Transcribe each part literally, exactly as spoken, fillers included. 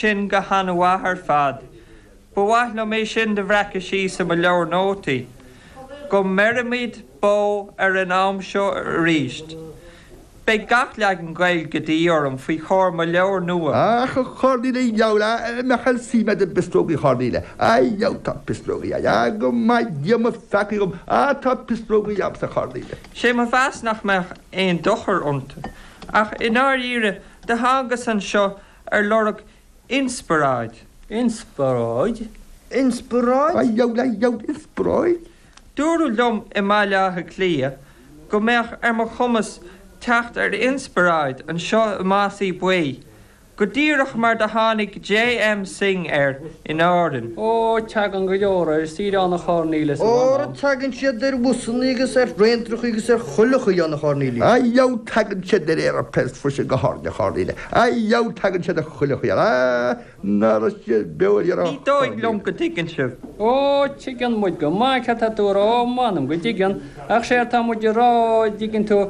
sin go han-mhaith ar fad. Ba mhaith liom é sin do bhreacadh síos i mo leabhar nótaí. Go mbeirimid bó ar an am seo arís. Beidh gach leagan Gaeilge de dhíth orm faoi chomhair mo leabhair nua. Ach a Chornelia, dheabhail, a mbeadh an suim agat i bpisreogaí Chornelia? A dheabhail, tá pisreogaí a'd. A, go maith Dia mo pheacaí dhom, a, tá pisreogaí a'msa, a Chornelia. Sé mo mheas nach mbeadh aon dochar iontu. Ach i ndáiríre, do thángas anseo ar lorg inspioráid. Inspioráid? Inspioráid? A dheabhail, a dheabhail, inspioráid? Dúradh liom i mBaile Átha Cliath go mbeadh ar mo chumas teacht ar inspioráid anseo i Másaí Buí, go díreach mar do tháinig J M Synge air in Árainn. Ó, tagann go leor air, saoire ann a Chornelius, a Óra, mh'anam. tagann siad ar bhusannaí agus ar thraenacha agus ar chuile chaoi ann, a Chornelius. A dheabhail, tagann siad ar aeroplanes freisin go hÁrainn, a Chornelia. A dheabhail, tagann siad ar chuile chaoi ann. A, ná raibh siad beo ar Ní dóigh liom go dtuigeann sibh. Ó, tuigeann muid go maith céard tá tú a rá, m'anam go dtuigeann, ach séard tá muid a rá, dtuigeann tú,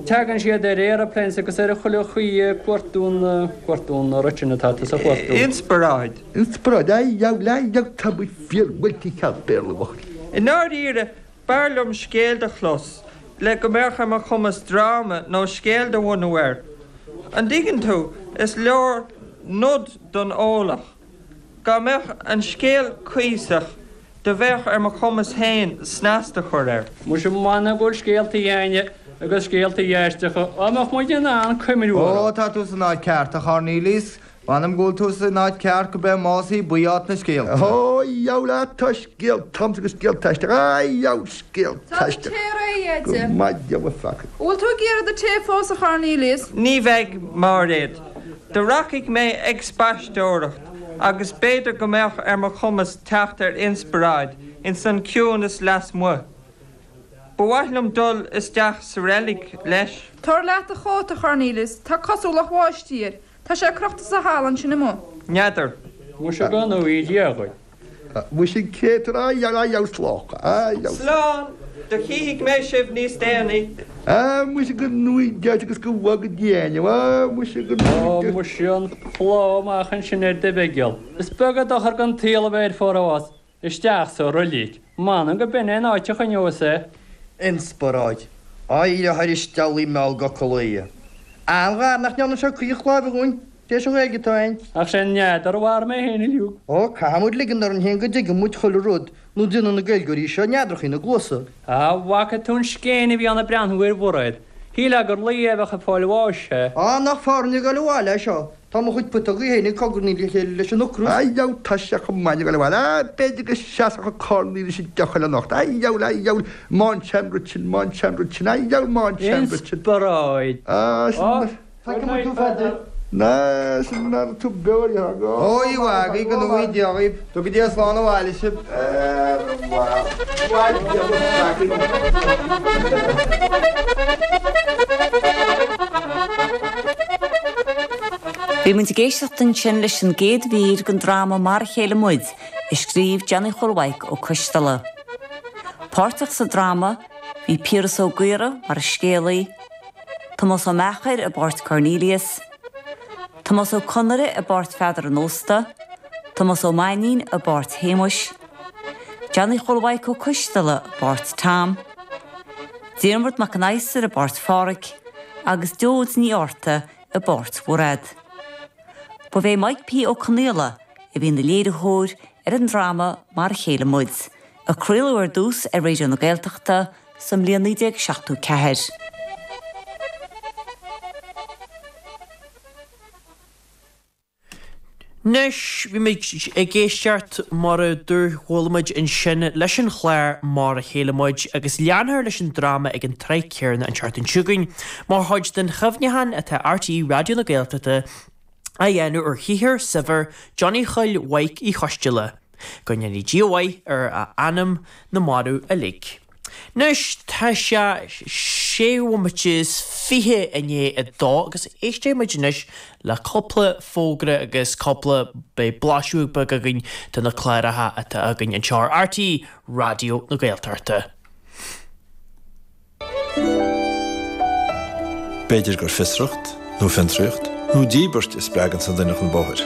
tagann siad ar aeroplanes agus ar chuile chaoi ag cuartú na, cuartú na rud sin atá tusa a chuartú. Inspioráid. Inspioráid, a dheabhail, a dheabhail, tá muid fíor bhuailte cheal Béarla, bhuachaill. I ndáiríre, b'fhearr liom scéal do chlos le go mbeadh ar mo chumas dráma nó scéal do bhunú air. An dtuigeann tú, is leor nod don eolach. Dá mbeadh an scéal cuíosach, do bheadh ar mo chumas féin snas do chur air. Muise m'anam go bhfuil scéaltaí a'inne agus scéaltaí aisteacha, dá mbeadh muid in ann cuimhniú Ó, orthu. tá tú san áit ceart, a Chornelius. M'anam go bhfuil tú san áit ceart gurb é Másaí Buí áit na scéalta. Ó, dheabhail, á, tá scéalta a'msa agus scéalta aisteacha, á, dheabhail, scéalta Tá do aisteacha. tae réidh, Go a Eddie. maith Dia mo pheacaí. An bhfuil tú ag iarraidh do tae fós, a Chornelius? Ní bheidh, Máiréad. Do rachaidh mé ag spaisteoireacht agus b'fhéidir go mbeadh ar mo chumas teacht ar inspioráid ins an ciúnas lasmuigh. Ba mhaith liom dul isteach sa reilig, leis. Tabhair leat do chóta, a Chornelius. Tá cosúlacht bháistí air. Tá sé crochta sa halla ansin amuigh. N'fheadar. Muise go ngnóthaí Dia dhuit. Muise cé tú a dheabhail slán. A dheabhail. Slán! Do chífidh mé sibh níos déanaí. A muise go ngnóthaí Dia agus go bhfága Dia ainm. A muise go Ó ngnóthaí Dia. muise an plá amach ansin ar do bheigeal. Is beag an dochar don tsaol a bheith ar forás. Isteach sa roilig. M'anam go b'in é an áit a choinneos é. Inspioráid. Éirigh thairis deabhlaí mall d'fhocal é. An-ghar nach ndearna sé caoch láimhe dhúinn, tar éis an Ghaeilge atá againn. Ach sé an n'fheadar a mhair mé féin uilig. Ó, caithfidh muid ligean orainn féin go dtuigeann muid chuile rud nó déanann na Gaeilgeoirí seo neadrachaí ina gcluasa. Á, bhfaca tú an scéin a bhí ann ag breathnú ar Mhairéad. Shílfeá gur lao a bheadh ag fáil bháis é. Á, nach fearr dúinn a ghoil abhaile é seo. Tá mo chuid putógaí féin ag cogarnaigh le chéile leis an ocras. A dheabhail, tá sé chomh maith ag dul abhaile. Á, b'fhéidir go seasfadh an Cornelius an deoch eile anocht. A dheabhail, a dheabhail, ma'n sean-rud sin, ma'n sean-rud sin, a dheabhail, ma'n sean-rud sin. Inspioráid. Á, sin Á, mar. Feicfidh muid tú, Pheadair. Ná, sin mar tú beo ar dheoidh. Ó, a mhagaidh, go ngnóthaí Dia dhaoibh. Tuga Dia slán abhaile sibh. Ar mhaith Dia mo pheacaí. Bhí muid ag éisteacht ansin leis an gcéad mhír den dráma Mar a Chéile Muid, a scríobh Johnny Chóil Mhaidhc Ó Coisteala. Páirteach sa dráma bhí Piaras Ó Gaora mar an scéalaí, Tomás Ó Meachair i bpáirt Cornelius, Tomás Ó Conaire i bpáirt Pheadar an Ósta, Tomás Ó Mainnín i bpáirt Shéamuis, Johnny Chóil Mhaidhc Ó Coisteala i bpáirt Tom, Diarmuid Mac an Adhastair i bpáirt Pháraic agus Deoid Ní Fhátharta i bpáirt Mhairéad. Ba é Mike P. Ó Conaola a bhí ina léiritheoir ar an dráma Mar a Chéile Muid, a craoladh ar dtús ar Raidió na Gaeltachta sa mbliain naoi déag seachtó ceathair. Anois, bhí muid ag éisteacht mar a dúirt chuala muid ansin leis an chlár Mar a Chéile Muid agus leanfar leis an dráma ag an tráth céanna an tseachtain seo chugainn mar chuid den chuimhneachán atá RTÉ Raidió na Gaeltachta á dhéanamh ar shaothar saibhir Johnny Chóil Mhaidhc Uí Choisteala. Go ndéanaí Dia mhaith ar a anam na marbh uilig. Anois tá sé sé bhomaite is fiche i ndiaidh a dó agus éistfidh muid anois le cúpla fógra agus cúpla beidh blaiseadh beag againn de na cláracha atá againn anseo ar RTÉ Raidió na Gaeltachta. B'fhéidir gur fiosracht, nó fiontraíocht, nó díbirt a spreagann an duine chun bóthair.